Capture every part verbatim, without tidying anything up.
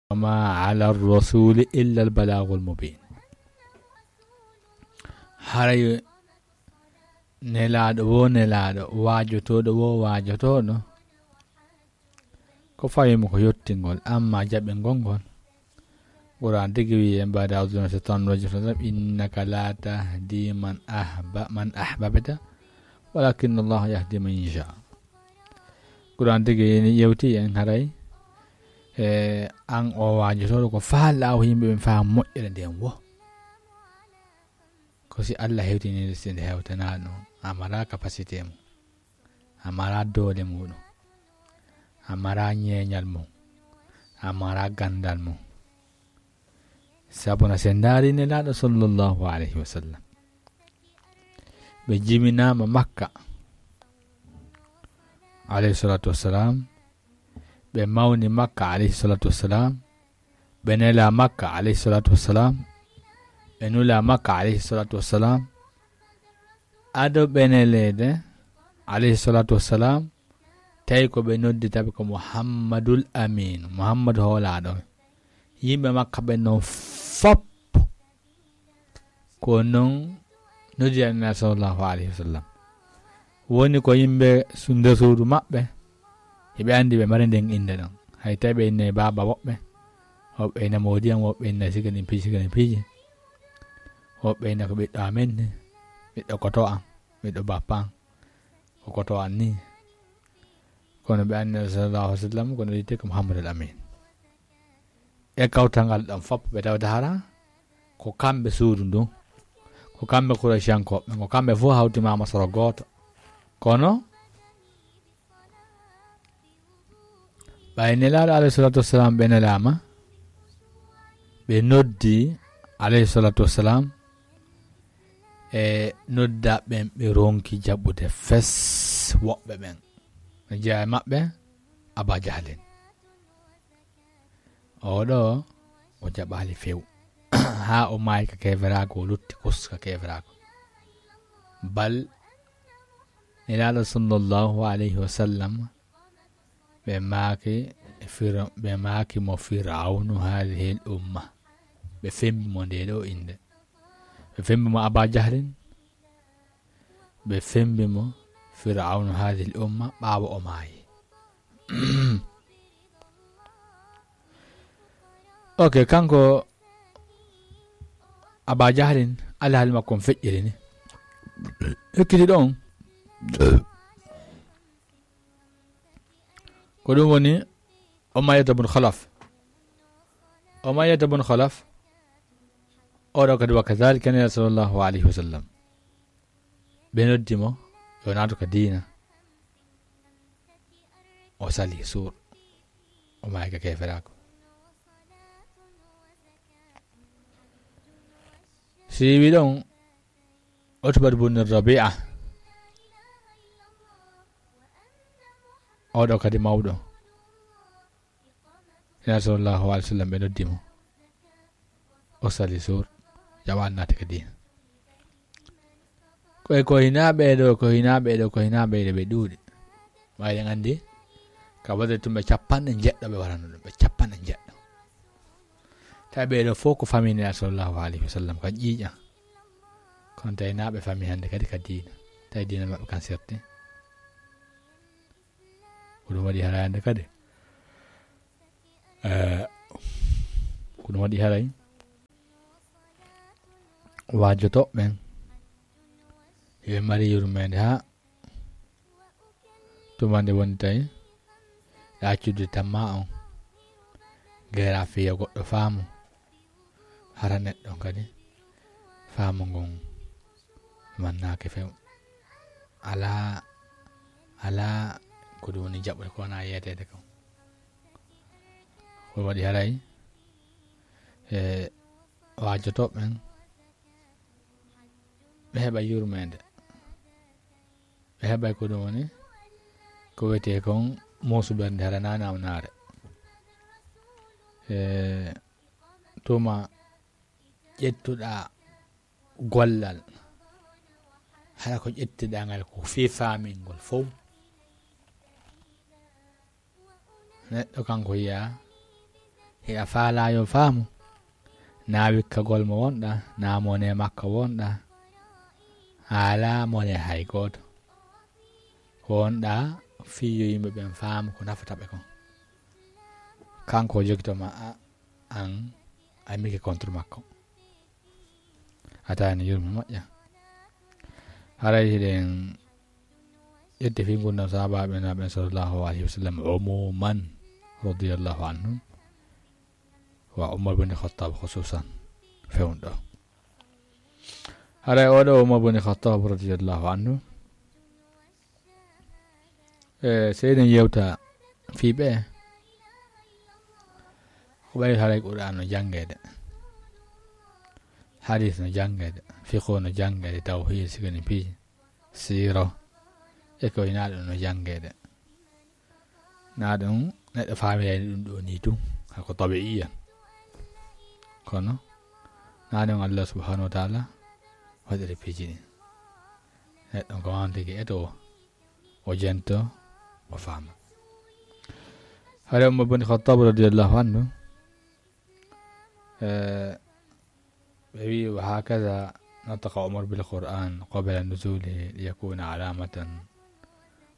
وما على الرسول إلا البلاغ المبين. Haray nelaaɗo wo nelaaɗo, waajotooɗo wo waajotooɗo, ko fawi mo ko yottingol, amma jaɓingol ngol. Qur'an tigi wi'i en, بعد أعوذ بالله من الشيطان الرجيم، إنك لا تهدي من أحب-، من أحببت، ولكن الله يهدي من يشاء. Qur'an tigi yewti en haray, e, an o waajotooɗo ko faalɗaa o yimɓe ɓen faa moƴƴere nden wo. Ko si Allah hewtini nde, si nde hewtanaa ɗum, a maraa capacité mum, a maraa doole muɗum, a maraa ñeeñal mum, a maraa ganndal mum. Sabu na sen ndaari Nelaaɗo sallallahu alayhi wa sallam, ɓe jiminaama Makka, alayhi salatu wassalam, ɓe mawni Makka, alayhi salatu wassalam, ɓe nelaa Makka, alayhi salatu wassalam, ɓe nulaa Makka, alayhi salatu wassalam, ado ɓe neleede, alayhi salatu wassalam, tawi ko ɓe noddita ɓe ko Muhammadul Amin, Muhammadu hoolaaɗo. Yimɓe Makka ɓen non fop, ko non noddi Annabi sallallahu alayhi wa sallam. Woni ko yimɓe su-, nder suudu maɓɓe, hiɓe anndi ɓe mari nden innde ɗon. Hay tawi ɓe innay baaba woɓɓe, woɓɓe inna moodi am, woɓɓe inna siga ɗin piiji, siga ɗin piiji. Woɓɓe inna ko ɓiɗɗo amen ni, ɓiɗɗo koto am, ɓiɗɗo bappa am, ko koto am ni. Kono ɓe anndi sallallahu alayhi wa sallam, kono wi'etee ko Muhammadul Amin. E kawtal ngal ɗon fop ɓe tawata hara ko kamɓe suudu ndun, ko kamɓe Qurayshankooɓe, ko kamɓe fof hawtimaama soro gooto. Kono ɓay Nelaaɗo alayhi salatu wassalam ɓe nelaama, ɓe noddi alayhi salatu wassalam, e nodda ɓen ɓe ronki jaɓude fes woɓɓe ɓen. No jeyaa e maɓɓe Aba Jahlin. Oɗo o jaɓaali few. Haa o maayi ka keeferaaku, o lutti kus ka keeferaaku. Bal Nelaaɗo sallallahu alayhi wa sallam, ɓe maaki Fir-, ɓe maaki mo Firawnu haadihil umma. Ɓe fembi mo ndee ɗoo innde. Ɓe fembi mo Aba Jahlin. Ɓe fembi mo Firawnu haadihil umma ɓaawo o maayi. Ok, kanko Aba Jahlin, alhaali makko on feƴƴiri ni. Ekkiti ɗon. Ko ɗum woni Umayyata bun Khalaf. Umayyata bun Khalaf, oɗo kadi wa kadhalika Nelaaɗo sallallahu alayhi wa sallam. Ɓe noddi mo, yo naatu ka diina. O sali suur. O maayi ka keeferaaku. Si wi ɗon, Utbatu bun Rabi'a, oɗo kadi mawɗo. Nelaaɗo sallallahu alayhi wa sallam ɓe noddi mo. O sali suur, jaɓaali naati ka diina. Ko e ko hinaa ɓee ɗoo, ko hinaa ɓee ɗoo, ko hinaa ɓee ɗoo ɓe ɗuuɗi. Ɓay ɗen anndi, ka Badri tun ɓe capanɗe njeɗɗo ɓe warano ɗum, ɓe capanɗe njeɗɗo. Tawi ɓee ɗoo fof ko famille Nelaaɗo sallallahu alayhi wa sallam, ka ƴiiƴan. Kono tawi naa ɓe famille hannde kadi ka diina. Tawi diina maɓɓe kan serti. Ko ɗum waɗi haray hannde kadi. Eh, ko ɗum waɗi haray. Waajotooɓe ɓen, yo ɓe mari yurmeende haa tuma nde woni tawi ɗa accude tamma on, geera fiya goɗɗo faamu, hara neɗɗo kadi faamu ngun mannaaki few. Alaa, alaa ko ɗum woni jaɓude ko wonaa yeeteede kon. Ko waɗi haray e waajotooɓe ɓen, ɓe heɓa yurmeende. Ɓe heɓay ko ɗum woni, ko wiyetee kon muusu ɓernde, hara naa namnaare. E tuma ƴettuɗaa gollal, hara ko ƴettuɗaa ngal ko fii faamingol fow. Neɗɗo kanko yiya E a faalaa yo faamu, naa wikkagol mo wonɗaa, naa mone makko wonɗaa, a alaa mone hay gooto. Ko wonɗaa fii yo yimɓe ɓen faamu ko nafata ɓe kon. Kanko o jogito ma a, an a mike contre makko. A taani yurme moƴƴa. Haray hiɗen ƴetti fii ngurndan sahaabaaɓe Nulaaɗo ɓen sallallahu alayhi wa sallam umuman radiyallahu anhum, wa Umar bin Khattab khususan fewndo. Haray oɗo Umar bin Khattab radiyallahu anhu, e seyden yewta fii ɓe, ko ɓay haray Qur'an no janngeede, hadis no janngeede, fiqhu no janngeede, tawhid, sikani piiji, siiro, e ko hinaa ɗum no janngeede. Naa ɗum neɗɗo faamirayni ɗum ɗo nii tun, hako tabi'iyan. Kono naa ɗum Allah subhanahu wa ta'ala waɗiri piiji ɗin. Neɗɗo ko on tigi eto o, o jento, o faama. Haray Umar bin Khattab radiyallahu anhu, e, ɓe wi'i, "وهكذا نطق عمر بالقرآن قبل نزوله ليكون علامة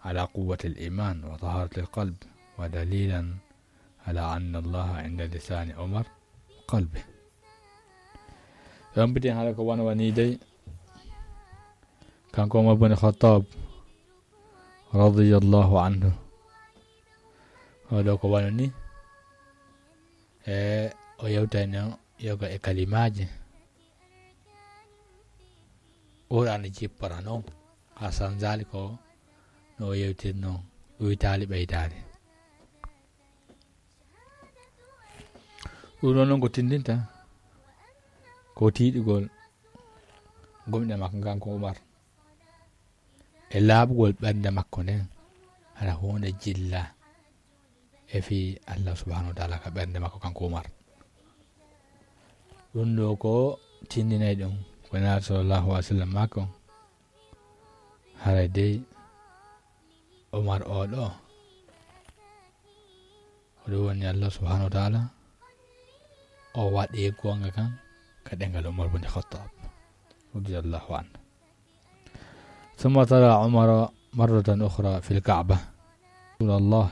على قوة الإيمان وطهارة القلب ودليلا على أن الله عند لسان عمر وقلبه." Yombitin haala ko wano wani dey, kanko Umar bin Khattab radiyallahu anhu. Oɗo ko wano ni, e o yewtayno yoga e kalimaaji Qur'an jippora non, haa sanzaali ko no o yewtirno, ɗuytaali ɓeytaali. Ɗum ɗon non ko tindinta ko tiiɗugol gomɗe makko ngan ko Umar, e laaɓugol ɓernde makko nden, hara huunde jilla e fii Allah subhanahu wa ta'ala ka ɓernde makko kanko Umar. Ɗum ɗo ko tindinay ɗum ko Nulaaɗo sallallahu alaihi wasallam maako, haray dey Umar o ɗo, o ɗum woni Allah subhanahu wa ta'ala o waɗi goonga kan ka ɗengal Umar bin Khattab radiyallahu anhu. ثم تلا عمر مرة أخرى في الكعبة: "رسول الله،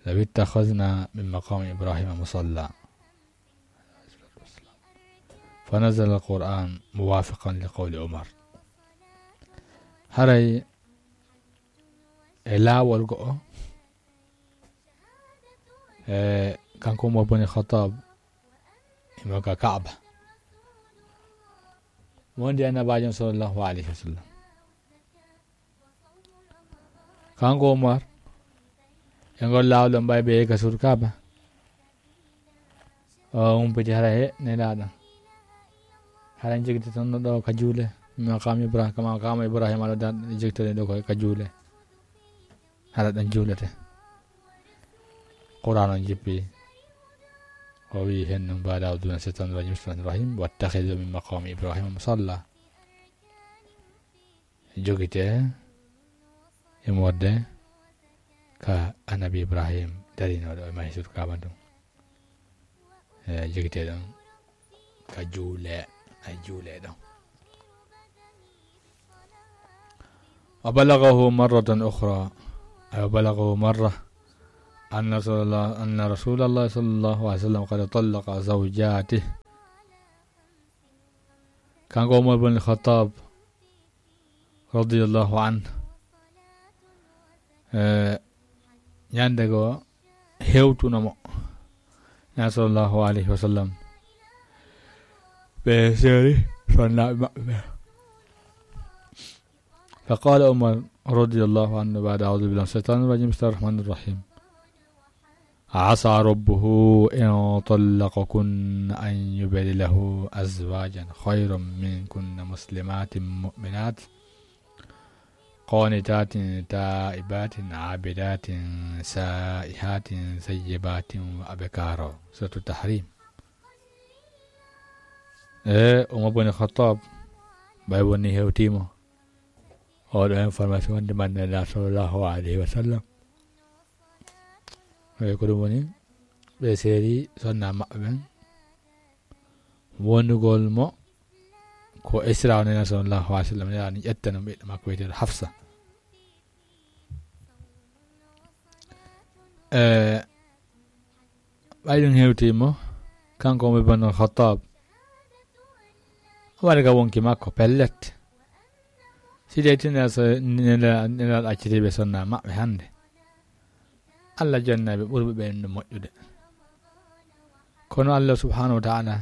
لو اتخذنا من مقام إبراهيم مصلى." فنزل القرآن موافقا لقول عمر. Haray e laawol go'o, e kanko Umar bin Khattab, imo ka Kaaba, mo wondi Annabaajo sallallahu alaihi wasallam. Kanko Umar, e ngol laawol ɗon ɓay ɓe ka suudu Kaaba, o humpiti hara he Nelaaɗo. Hara en jogiti tan no ɗo ka juule, maqam Ibrahim, ka maqam Ibrahim aɗo dan jogitani ɗo ko ka juule. Hara ɗon juulete. Qur'an on jippi. O wi'i hen non, بعد أعوذ بالله من الشيطان الرجيم، بسم الله الرحمن الرحيم، "واتخذوا من مقام إبراهيم مصلى." Jogite e morde ka Annabi Ibrahim darinooɗo e mahi suudu Kaaba ndun. E jogite ɗon ka juule, ay juule ɗon. وبلغه مرة أخرى، أي وبلغه مرة أن رسول الله، أن رسول الله صلى الله عليه وسلم قد طلق زوجاته. Kanko Umar bin Khattab radiyallahu anhu, e, ñande go hewtuno mo, na sallallahu alayhi wa sallam, ɓe seeri sonnaaɓe maɓɓe ɓe. فقال عمر رضي الله عنه بعد أعوذ بالله من الشيطان الرجيم، بسم الله الرحمن الرحيم. عسى ربه إن طلقكن أن يبدله أزواجا خيرا منكن مسلمات مؤمنات قانتات تائبات عابدات سائحات ثيبات وأبكارا. سورة التحريم. E, Umar bin Khattab, ɓay woni hewtiimo oɗo information wonde man Nela sallallahu alayhi wa sallam. E, ko ɗum woni, ɓe seeri sonna maɓɓe ɓen, wonugol mo ko Isra o, Nela sallallahu alaihi wasallam, Nela ni ƴettano ɓiɗɗo makko wiyeteeɗo Hafsa. E, ɓay ɗum hewtii mo, kanko Umar ibn al-Khattab, o waɗi ka wonki makko, pellet. Si tawi tinaa so Nela, Nela accitiiɓe sonna maɓɓe hande, Allah jonnay ɓe ɓurɓe ɓen ɗum moƴƴude. Kono Allah subhanahu wa ta'ala,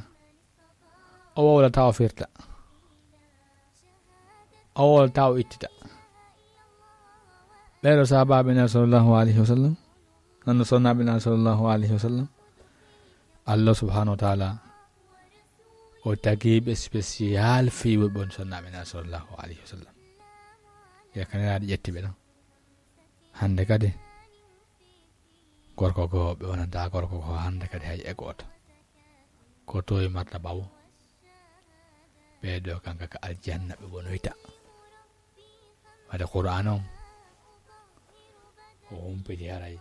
o wowlata o firta. O wowlata o ittita. Ɓeeɗo sahabaaɓe Nela sallallahu alaihi wasallam, nano sonnaaɓe Nela sallallahu alaihi wasallam, Allah subhanahu wa ta'ala, o tagiiɓe spécial fii wonɓe on sonnaaɓe Nela sallallahu alaihi wasallam. Yakaniraaɗo ƴetti ɓe ɗon. Hande kadi, gorko goo, ɓe wonanta gorko goo hande kadi hay e gooto. Ko towi marta ɓawo. Ɓee ɗoo kanka ka aljanna ɓe wonoyta. Wade Qur'aan on, o humpiti haray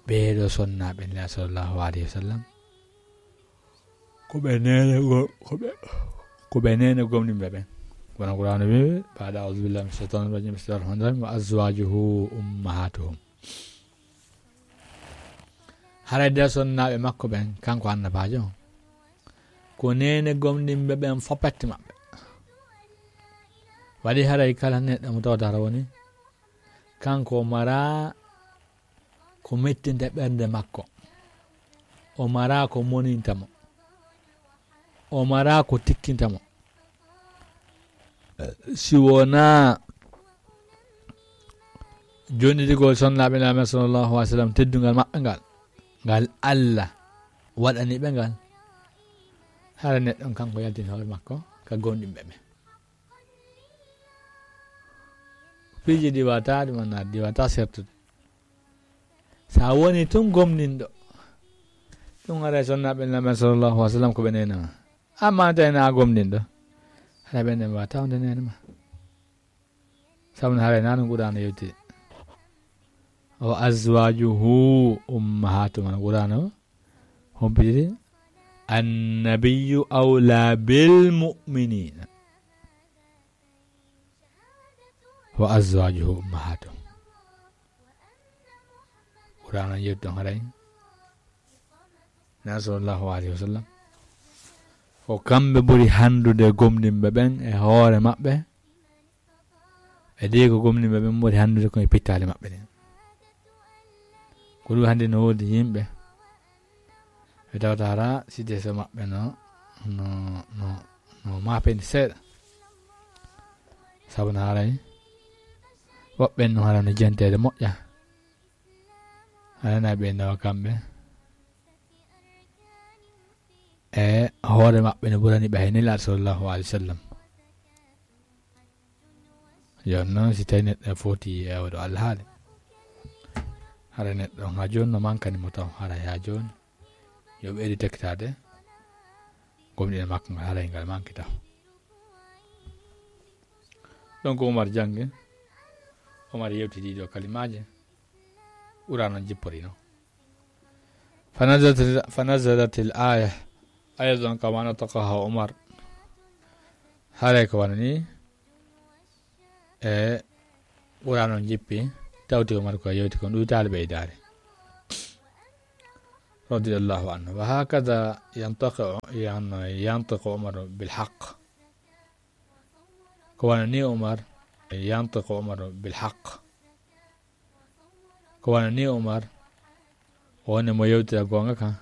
ɓee ɗoo sonnaaɓe Nela sallallahu alaihi wasallam, ko ɓe neene go-, ko ɓe, ko ɓe neene gomɗinɓe ɓen. Wano Qur'aana wi'i, ba'da a'udhu billahi minash shaitanir rajim, bismillahir rahmanir rahim, "Wa azwajuhu ummahatuhum." Haray nder sonnaaɓe makko ɓen, kanko annabaajo on, ko neene gomɗinɓe ɓen fow petti maɓɓe. Waɗi haray kala neɗɗo mo tawata hara woni, kanko o maraa ko mettinta ɓernde makko. O maraa ko moninta mo. O maraa ko tikkinta mo. Si wonaa jonnidigol sonnaaɓe Nulaaɗo sallallahu alaihi wasallam, teddungal maɓɓe ngal, ngal Allah waɗani ɓe ngal, hara neɗɗo on kanko yaltini hoore makko ka gomɗinɓe ɓen. Piiji ɗi wata, ɗum wona ɗi wata sertude. Sa woni tun gomɗinɗo, ɗum haray sonnaaɓe Nulaaɗo sallallahu alaihi wasallam ko ɓe neene ma. Amma tawi na gomɗinɗo, haray ɓen ɗon wata wonde neene ma. Sabu no haray na no Qur'aana yewti. "Wa azwajuhu ummahatuhum." Qur'aana o humpitiri, "Annabiyyu awla bil mu'minina." "Wa azwajuhu ummahatuhum." Qur'aana yewti ɗon haray Nulaaɗo sallallahu alaihi wasallam, ko kamɓe ɓuri handude gomɗinɓe ɓen e hoore maɓɓe. E ɗi ko gomɗinɓe ɓen ɓuri handude ko e pittaali maɓɓe ɗin. Ko ɗum hande no woodi yimɓe ɓe tawata hara situation maɓɓe no, no, no, no maapini seeɗa. Sabu no haray woɓɓe no hara no jenteede moƴƴa. Haray na ɓe nawa kamɓe e hoore maɓɓe no ɓurani ɓe hay Nulaaɗo sallallahu alaihi wasallam. Yo non si tawi neɗɗo foti e oɗo alhaali, hara neɗɗo ha jooni no mankani mo taw, hara ha jooni yo ɓeydu tekkitaade gomɗinal makko ngal, haray ngal manki taw. Donc Umar jangi, Umar yewti ɗiɗo kalimaaji, Qur'aana on jippori non. Fanazalat, fanazalatil aya, aydan kama nataqaha Umar. Haray ko wano ni, e Qur'aana on jippi, tawti Umar ko yewti kon, ɗuytaali ɓeydaari. Radiyallahu anhu. Wa hakada yantiqu, yan-, yantiqu Umar bil haqq. Ko wano ni Umar, yantiqu Umar bil haqq. Ko wano ni Umar, woni mo yewtira goonga kan,